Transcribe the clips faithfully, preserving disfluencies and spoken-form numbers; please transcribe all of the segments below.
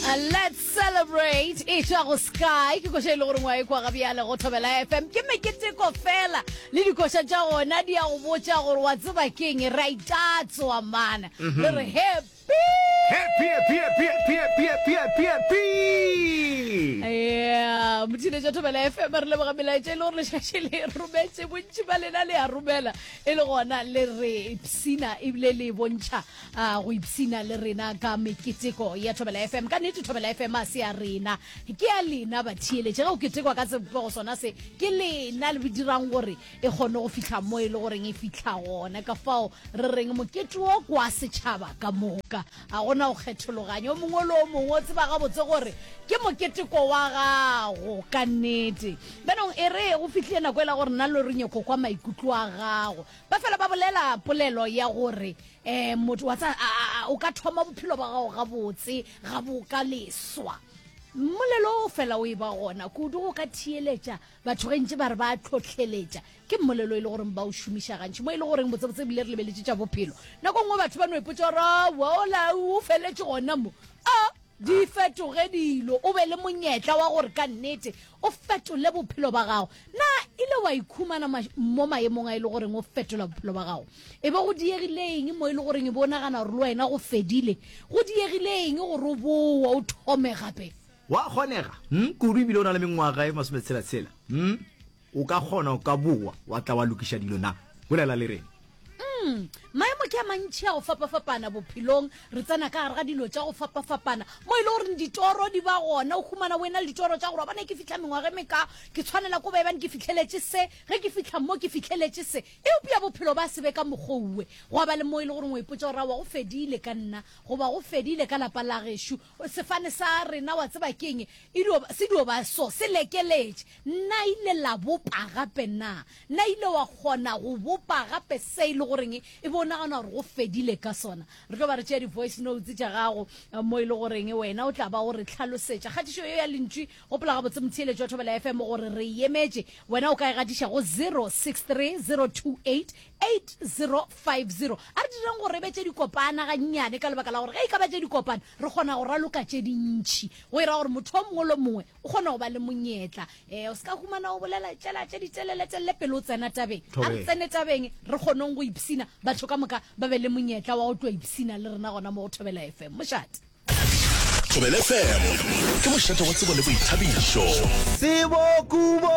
Uh, let's celebrate e tšwa go sky ke koša e le gore ngwa e kwa gabjale go thobela fm ke meketeko fela le dikoša tša gona di ya go botša gore wa tseba keng re a itatswa mana le re happy Happy, happy, happy, happy, happy, happy, happy, happy. ya mothiletša thobela fm re leboga melaetša e le gore lešaše le rometše bontši ba lena le a romela e le gona le re ipsina ebile le bontšha ah, go ipsina le rena ka meketeko ya thobela fm ka nnete thobela fm a se ya rena ke ya lena batheeletše ge o ketekwa ka sebopego sona se ke lena le dirang gore e kgone go fihla mo e le goreng e fihla gona ka fao re reng mokete wo kwa setšhaba ka moka ga gona go kgethologanya o mongwe le o mongwe o tseba gabotse gore ke moketeko wa gago ka nnete benong e re go fihlile nako e la gore nna le re nyako kwa maikutlo a gago ba fela ba bolela polelo ya gore um motho wa tsa a- a- o ka thoma bophelo ba gago gabotse ga bo ka leswa mmolelo o fela o e ba gona kudu go ka theeletša batho ge ntse ba re ba tlhotlheletša ke mmolelo e le goreng ba o šomiša gantši mo e le goreng botsebotse ebile re lebeletše tša bophelo nako nngwe batho ba no ipotsa gore aowa ola o feletše gona mo a di fetoge dilo o be le monyetla wa gore ka nnete o fetole bophelo ba gago na ile wa ikhumana ma- mo maemong a e le goreng o fetola bophelo ba gago e be go diegile eng mo e le goreng e be o nagana gore le wena go fedile go diegile eng gore o boa o thome gape Wa kgonega hmm? kudu ebile o na le mengwaga e masometshela-tshela hmm? o ka kgona o ka boa wa tla wa lokiša dilo na bolela le rena Mm, maemo ke a mantši a go fapafapana bophelong re tsena ka gare ga dilo tša go fapafapana mo e le goreng ditoro di ba gona o humana o ena le ditoro tša gore wa bona ke fitlha mengwaga e meka ke tshwanela ko baebane ke fitlheletše se ge ke fitlha mo ke fitlheletše se eupša bophelo ba se be ka mokgouwe go ba le mo e le goreng o ipotsa gore aowa go fedile ka nna goba go fedile ka lapa la gešo sefane sa rena wa tseba keng e dio se dio ba so se lekeletše nna ile la bopa gape na nna ile wa kgona go bopa gape se e le goreng e be o nagana gore go fedile ka sona re tlo ba re tšea di-voice notes tša gago eh, mo e le goreng wena o tla ba o re tlhalosetša kgatišo ye ya lentšu gopola gabotse motheeletši wa thobela fm gore re emetše wena o ka e gatiša go zero six three zero two eight eight zero five zero a re direng gore e be tše dikopana gannyane ka lebaka la gore ge e ka ba tše dikopana re kgona go raloka tše dintšhi go ira gore motho o mongwe le mongwe o kgona go ba le monyetla um o se ka humana o bolela tšela tše diteleletelele pele o tsena tabeng a re Thobela. tsene tabeng re kgoneng go ipsina batho ka moka ba be le monyetla wa go tlo ipsina le rena gona mo go thobela fm mošate Thobela FM ke mošate wa tsebo le boithabišo. Tsebo kubo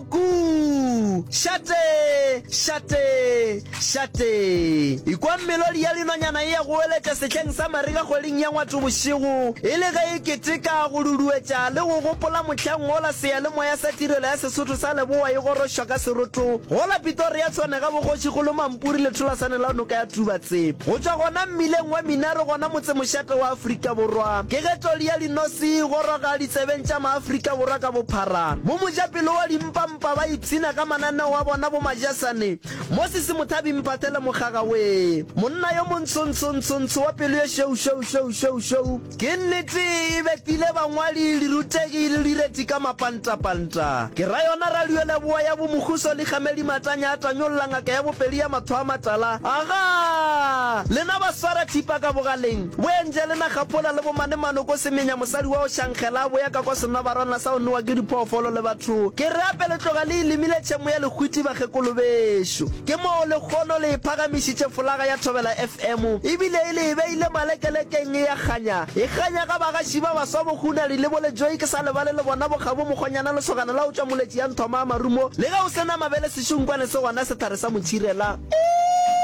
ku šate šate šate ikwa melodi ya linonyana e ya go eletša sehleng sa marega kgweding ya ngwato bošego e le ge e keteka go duduetša le go gopola mohlang ola seyalemoya sa tirelo ya sesotho sa leboa e gorošwa ka seroto gola Pretoria tshwane ga bogošigolo Mampuri le tholasane la noka ya Tubatse go tšwa gona mmileng wa Minare gona motsemošate wa Afrika Borwa ke ge toli ya dinosi e goroga ditsebeng tša maafrika Borwa ka bophara mo mojapelo wa dimpampa ba ipshina ka mananeo a bona bo majasane Moses Mothabi Mphathele Mokgaga we monna yo montshontshontsontsho wa pelo ye šweu šweu šweu šweu šweu ke nnete e betile bangwadi dirutegi le direti ka mapantapanta ke ra yona radio leboa ya bomokhuso le kgamedi matanya a tanyolla ngaka ya bopedi ya matho a matala aga lena ba swara thipa ka bogaleng bo Angelina Kgapola le bomane manoko semenya mosadi wa o šankgela a boya ka kwa senobarwana sa o nowa ke diphoofolo le batho ke re ape le tloga le ilemile tšhemo ya lehwiti bakgekolo bešo ke moo lekgono le e phagamišitše folaga ya Thobela FM ebile e le e beile malekelekeng e ya kganya e kganya ga bagaši ba baswa bohunadi le bolejoe ke sa lebale le bona bokgabo mokgonyana lesogana la o tšwa moletši ya nthoma a marumo le ge o se na mabele sešunkwane se gona sehlare sa motšhirela